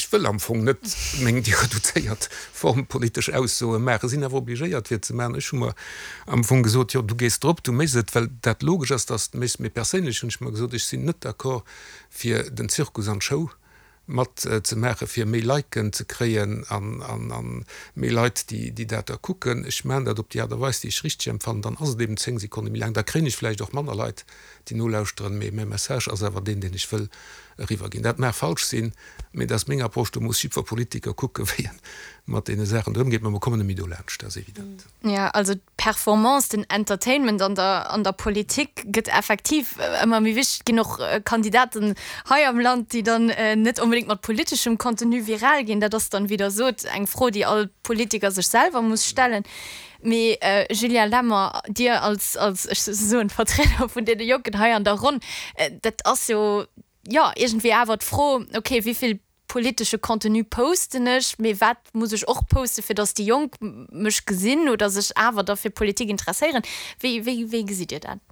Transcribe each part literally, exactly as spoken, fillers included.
Ech wëll am Fong net meng déi reduzéiert Form politesch Aussoe maachen, sinn awer obligéiert fir et ze maachen. Ech hu mer am Fong gesot, jo du gees drop, du méchs et, well dat logesch ass, dass de méchs. Mee perséinlech hunn ech mer gesot, ech sinn net d'accord fir den Zirkus an d'Show mat ze maachen, fir méi Liken ze kréien an an méi Leit déi déi dat da kucken. Ech maachen dat op déi Aart a Weis, déi ech richteg empfannen, dann ass et eben zéng Sekonne méi laang, da kréien ech vläicht och manner Leit, déi nolauschteren, mee mäi Message ass awer deen, deen ech wëll eriwwerginn. Dat mag falsch sinn, mee dat ass meng Approche. Do muss jiddwer Politiker kucken, wéi en mat deene Saachen do ëmgeet. Mä mer kommen net méi dolaanscht, dat ass evident. Jo, also d'Performance, den Entertainment an der an der Politik gëtt effektiv ëmmer méi wichteg. Et ginn och Kandidaten hei am Land, déi dann net onbedéngt mat politeschem Contenu viral ginn. Dat ass dann, wéi Der sot, eng Fro, déi all Politiker sech selwer muss stellen. Mee Julien Lemmer, Dir als, als, ech soen, Vertrieder vun deene Jonken hei an der Ronn, dat ass jo, jo, iergendwéi awer d'Fro, okay, wéi vill politesche Contenu posten ech, mee wat muss ech och posten, fir datt déi Jonk mech gesinn oder sech awer da fir Politik interesséieren? Wéi, wéi, wéi gesitt Dir dat?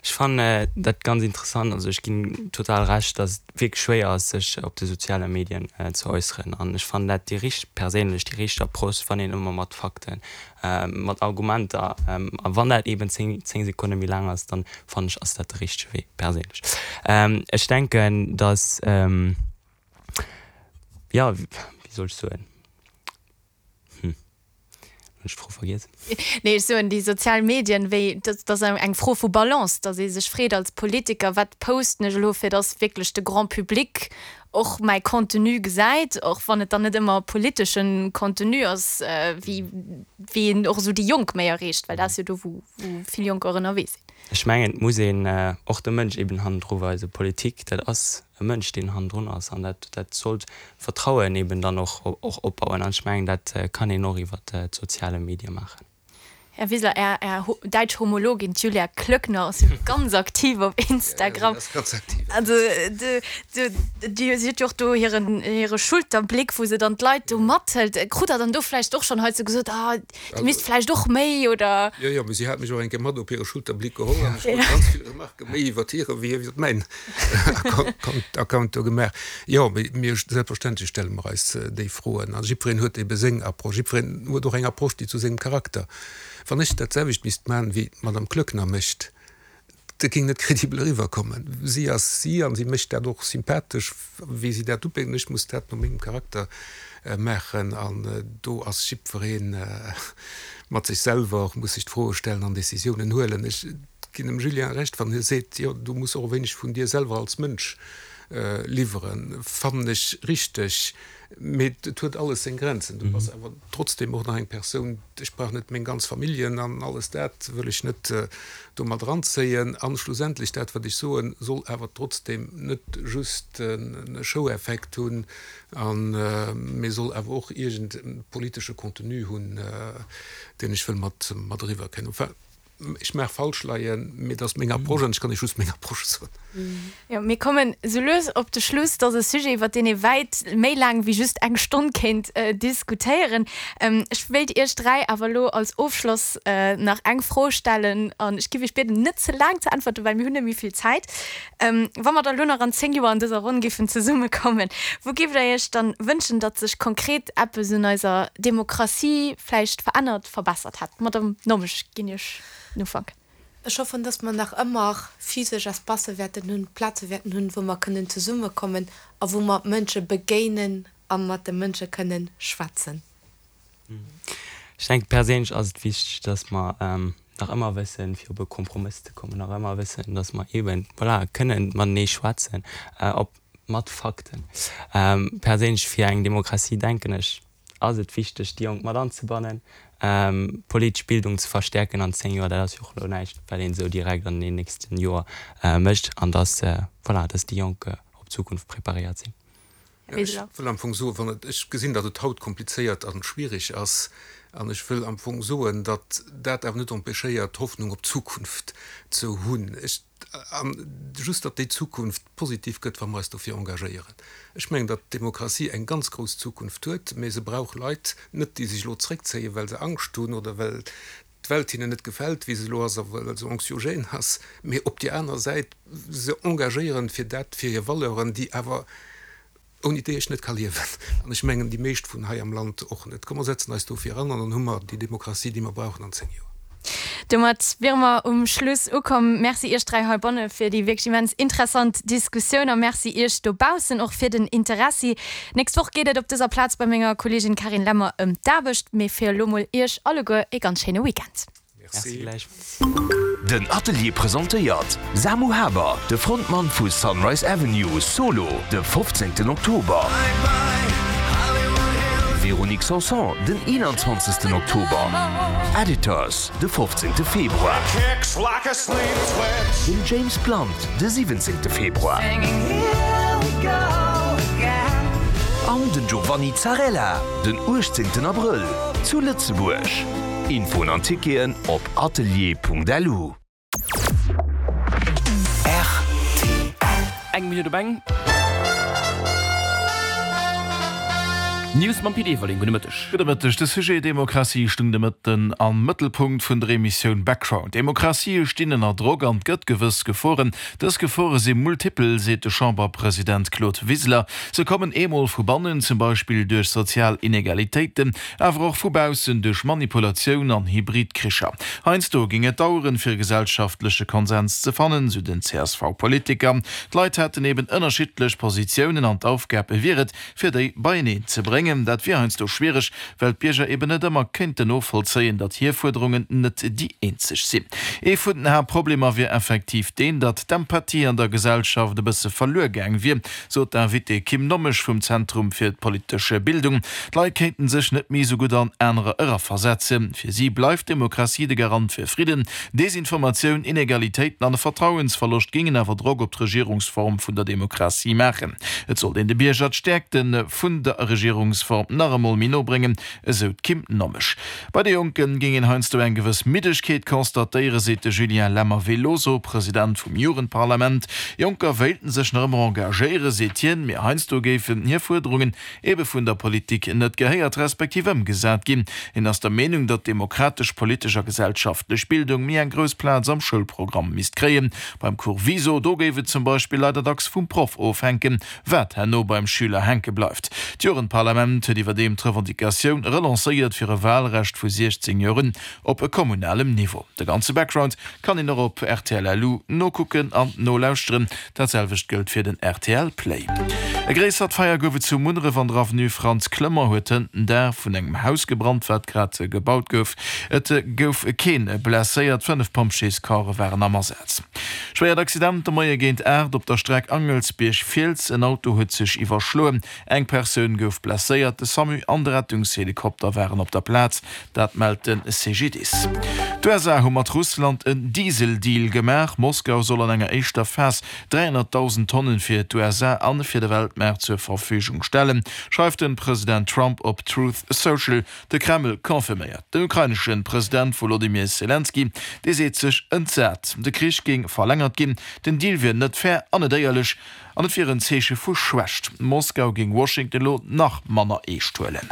Ech fannen dat ganz interessant. Also ech ginn total Recht, datt et wierklech schwéier ass, sech op de soziale Medien ze äusseren. An ech fannen dat déi richteg, perséinlech déi richteg Approche, wann een ëmmer mat Fakten, mat Argumenter, a wann dat eeben zéng, zéng Sekonne méi laang ass, dann fannen ech, ass dat de richtege Wee, perséinlech. Ech denken, datt, jo, wéi soll ech soen? Hm, hunn ech d'Fro vergiess. Nee, ech soen, déi sozial Medien, wéi, dat ass eng Fro vu Balance, datt ee sech freet als Politiker, wat posten ech elo, fir datt wierklech de Grand public och mäi Contenu gesäit, och wann et dann net ëmmer politesche Contenu ass, wéi, wéi een och esou déi Jonk méi erreecht, well dat ass jo do, wou, wou vill Jonker och ënnerwee sinn. Ech mengen, et muss een och de Mënsch eben hannendru weisen. Politik, dat ass e Mënsch, deen hannendrun ass, an dat, dat sollt Vertrauen eben dann och, och opbauen. An ech mengen, dat kann een och iwwert d'soziale Medie maachen. Här Wiseler, Är, Är däitsch Homologin, d'Julia Klöckner, ass jo ganz aktiv op Instagram. Ja, si ass ganz aktiv. Also, de, de, déi, si huet jo och do hiren, hire Schulterbléck, wou se dann d'Leit do mathëlt. Krut Der dann do vläicht och schonn heizou gesot, ah, Dir misst vläicht och méi, oder? Jo, jo, mee si hat mech och eng Kéier mat op hire Schulterbléck geholl an ech krut ganz vill Remarquë méi iwwert hire wéi iwwert mäin Account do gemaach. Jo, mee mir, selbstverständlech stelle mer eis déi Froen a jiddwereen huet ebe seng Approche. Jiddwereen huet och eng Approche, déi zu sengem Charakter. Wann ech dat selwecht misst maachen, wéi d'Madame Klöckner mécht, dat géing net kredibel eriwwerkommen. Si ass si an si mécht dat och sympathesch, wéi si dat upéckt. An ech muss dat no mengem Charakter maachen. An do ass jiddweree mat sech selwer, muss sech d'Froe stellen an Decisiounen huelen. Ech ginn dem Julien Recht, wann hie seet, jo, du muss och e wéineg vun dir selwer als Mënsch liwweren. Fannen ech richteg. Mee et huet alles seng Grenzen. Du bass awer trotzdem och nach eng Persoun. Ech brauch net meng ganz Familljen an alles dat wëll ech net do mat eranzéien. An schlussendlech, dat wat ech soen, soll awer trotzdem net just e Showeffekt hunn, mee soll awer och iergend e politesche Contenu hunn, deen ech wëll mat eriwwer kréien. Enfin, Ech mag falsch leien, mee dat ass meng Approche an ech kann Iech just meng Approche soen. Jo, mir kommen esou lues op de Schluss. Dat ass e Sujet, iwwer deen ee wäit méi laang wéi just eng Stonn kéint diskutéieren. Ech wéilt Iech dräi awer elo als Ofschloss nach eng Fro stellen an ech géif Iech bieden, net ze laang ze äntwerten, well mir hunn net méi vill Zäit. Wa mer da elo nach an zéng Joer an dëser Ronn géifen zesummekommen, wou géift Der Iech dann wënschen, datt sech konkret eppes un eiser Demokratie vläicht verännert, verbessert hätt? Madamm Nommesch, ginn Iech den Ufank. Ech hoffen, dass mer nach ëmmer physesch Espacë wäerten hunn, Plaze wäerten hunn, wou mer kënnen zesummekommen a wou mer Mënsche begéinen a mat de Mënsche kënnen schwätzen. Ech denke perséinlech ass et wichteg, dass mer nach ëmmer wëssen, fir op e Kompromëss ze kommen, nach ëmmer wëssen, dass mer eeben, voilà, kënnen matenee schwätzen, op mat Fakten. Perséinlech fir eng Demokratie denken ech, ass et wichteg, déi Jonk mat anzebannen, politesch Bildung ze verstäerken an zéng Joer, dat ass jo och elo näischt, wat een esou direkt an den nächsten Joer mécht, an dass, voilà, dass déi Jonk op d'Zukunft preparéiert sinn. Ech wëll am Fong soen, wann et, ech gesinn, datt et haut komplizéiert a schwierig ass, an ech wëll am Fong soen, datt dat awer net empêchéiert, Hoffnung op d'Zukunft ze hunn. Ech, an just datt déi Zukunft positiv gëtt, wa mer eis dofir engagéieren. Ech mengen, datt d'Demokratie eng ganz grouss Zukunft huet, mä se brauch Leit, net déi sech elo zréckzéien, well se Angscht hunn oder well d'Welt hinnen net gefält, wéi se elo ass a well se anxiogène ass, mä op déi aner Säit se engagéieren fir dat, fir hir Valeuren, déi awer ouni déi ech net ka liewen. An ech mengen, déi meescht vun hei am Land och net. Komm mer setzen eis dofir an an dann hu mer déi Demokratie, déi mer brauchen an zéng Joer. Domat wiere mer um Schluss ukomm. Merci Iech dräi heibanne fir déi wierklech immens interessant Diskussioun a Merci Iech dobaussen och fir den Interessi. Nächst Woch geet et op dëser Plaz bei menger Kolleegin Carine Lemmer ëm d'Aarbecht. Mee fir elo mol Iech alleguer e ganz schéine Weekend. Merci gläichfalls. Den Atelier presentéiert Samu Haber, de Frontmann vu Sunrise Avenue, solo de fofzéngten Oktober, Véronique Sanson den eenanzwanzegsten Oktober, Editors de fofzéngte Februar, den James Blunt de siwwenzéngte Februar an den Giovanni Zarrella den uechtzéngten Abrëll zu Lëtzebuerg. Infoen an Ticketen op atelier.lu. Rtl. Eng Minutt op eng. News mam Pit Everling. Gudde Mëtteg. Gudde Mëtteg. De Sujet Demokratie stung de Mëtten am Mëttelpunkt vun der Emissioun Background. Demokratië stinn ënner Drock an et gëtt gewëss Geforen. Dës Gefore si multipel, seet de Chamberpresident Claude Wiseler. Se kommen eemol vu bannen, zum Beispill duerch sozial Inegalitéiten, awer och vu baussen duerch Manipulatioun an hybrid Kricher. Heiansdo géing et daueren, fir e gesellschaftleche Konsens ze fannen, sou den C S V-Politiker. D'Leit hätten eben ënnerschiddlech Positiounen an d'Aufgab wier et, fir déi beieneen ze bréngen. Dat wier heiansdo schwiereg, well d'Bierger eben net ëmmer kéinten novollzéien, datt hir Fuerderungen net déi eenzeg sinn. Ee vun den Haaptproblemer wier effektiv deen, datt d'Empathie an der Gesellschaft e bësse verluer gaang wier, sot d'Invitée Kim Nommesch vum Zentrum fir d'politesch Bildung. D'Leit kéinten sech net méi esou gutt an anerer eraversetzen. Fir si bleift d'Demokratie de Garant fir Fridden. Desinformatioun, Inegalitéiten an e Vertrauensverloscht géingen awer Drock op d'Regierungsform vun der Demokratie maachen. Et sollt een de Bierger d'Stäerkte vun der Regierungsform nach emol méi no bréngen, esou d'Kim Nommesch. Bei de Jonke géing een heiansdo eng gewëss Middegkeet constatéieren, seet de Julien Lemmer-Veloso, President vum Jugendparlament. Jonker wéilten sech nach ëmmer engagéieren, seet hien, mee heiansdo géifen hir Fuerderungen ebe vun der Politik net gehéiert respektiv ëmgesat ginn. Hien ass der Meenung, datt demokratesch, politesch a gesellschaftlech Bildung méi eng grouss Plaz am Schoulprogramm misst kréien. Beim Cours Viso, do géif et zum Beispill leider dacks vum Proff ofhänken, wat herno beim Schüler hänke bleift. D'Jugendparlament huet iwwerdeem d'Revendicatioun relancéiert fir e Walrecht vu siechzéng Joer un op kommunalem Niveau. De ganze Background kann een och op rtl.lu nokucken an nolauschteren. Dat selwecht gëllt fir den rtl Play. E gréissert Feier gouf et zu Munneref an der Avenue Frantz Clement huet hënt den Daach vun engem Haus gebrannt, wat grad gebaut gouf. Et gouf kee blesséiert, fënnef Pompjeescorpse waren am Asaz. Schwéiert Accident de Moie géint aacht op der Streck Angelsbierg-Fiels, En Auto huet sech iwwerschloen, eng Persoun gouf blesséiert. De Samu an de Rettungshelikopter waren op der Plaz, dat mellt de C G D I S. D'U S A hu mat Russland en Diesel-Deal gemaach. Moskau soll an enger éischter Phas dräihonnertdausend Tonnen fir d'U S A an fir de Weltmaart zur Verfügung stellen, schreift de President Trump op Truth Social. De Kreml confirméiert. Den ukrainesche President Wolodymyr Selenskyj, dee seet sech entsat. De Krich géing verlängert ginn, den Deal wier net fair an net éierlech an et wier en Zeeche vu Schwächt. Moskau géing Washington elo nach manner eescht huelen.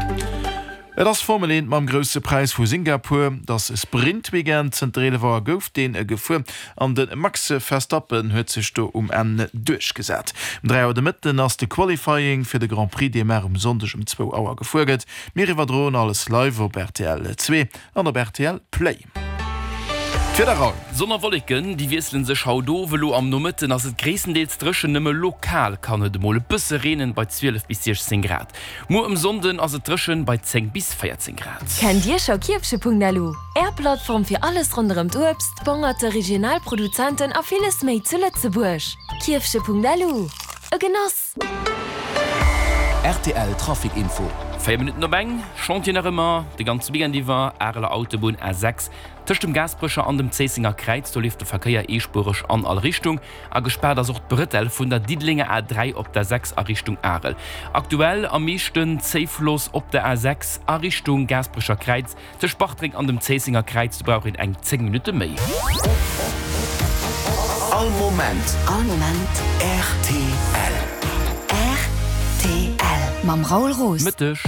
Et ass Formel eent mam Grousse Präis vu Singapur. Et ass Sprint-Weekend, zënter eelef Auer gouf deen gefuer an de Max Verstappen huet sech do um Enn duerchgesat. Um dräi Auer de Mëtten ass de Qualifying fir de Grand Prix, dee mar um Sonndeg um zwou Auer gefuer gëtt. Mir iwwerdroen alles live op R T L zwee an op R T L Play. D'Wieder, Raoul. Sonn a Wolleken, déi wiessele sech haut of. Elo am Nomëtten ass et gréisstendeels dréchen, nëmme lokal kann et emol e bësse reenen, bei zwielef bis siechzéng Grad. Muer um Sonnden ass et dréchen, bei zéng bis véierzéng Grad. Kennt Dir scho Kierfche Punkt L U? Är Plattform fir alles ronderëm d'Uebst, d'Bongerte, regional Produzenten a villes méi zu Lëtzebuerg. Kierfche Punkt L U. E Genoss! R T L Trafic Info. Véier Minutten op eng, Chantier nach ëmmer de ganze Weekend iwwer, Areler Autobunn A sechs tëscht dem Gaasperecher an dem Zéissenger Kräiz, do leeft de Verkéier eespuereg an all Richtung. A gespaart ass och d'Brëtell vun der Diddelenger A dräi op der sechs a Richtung Arel. Aktuell am meeschten Zéifloss op der A sechs a Richtung Gaasperecher Kräiz tëscht Bartreng an dem Zéissenger Kräiz, do brauch een eng zéng Minutte méi. All Moment. All Moment. R T L. R T L. Mam Raoul Roos. Mëtteg.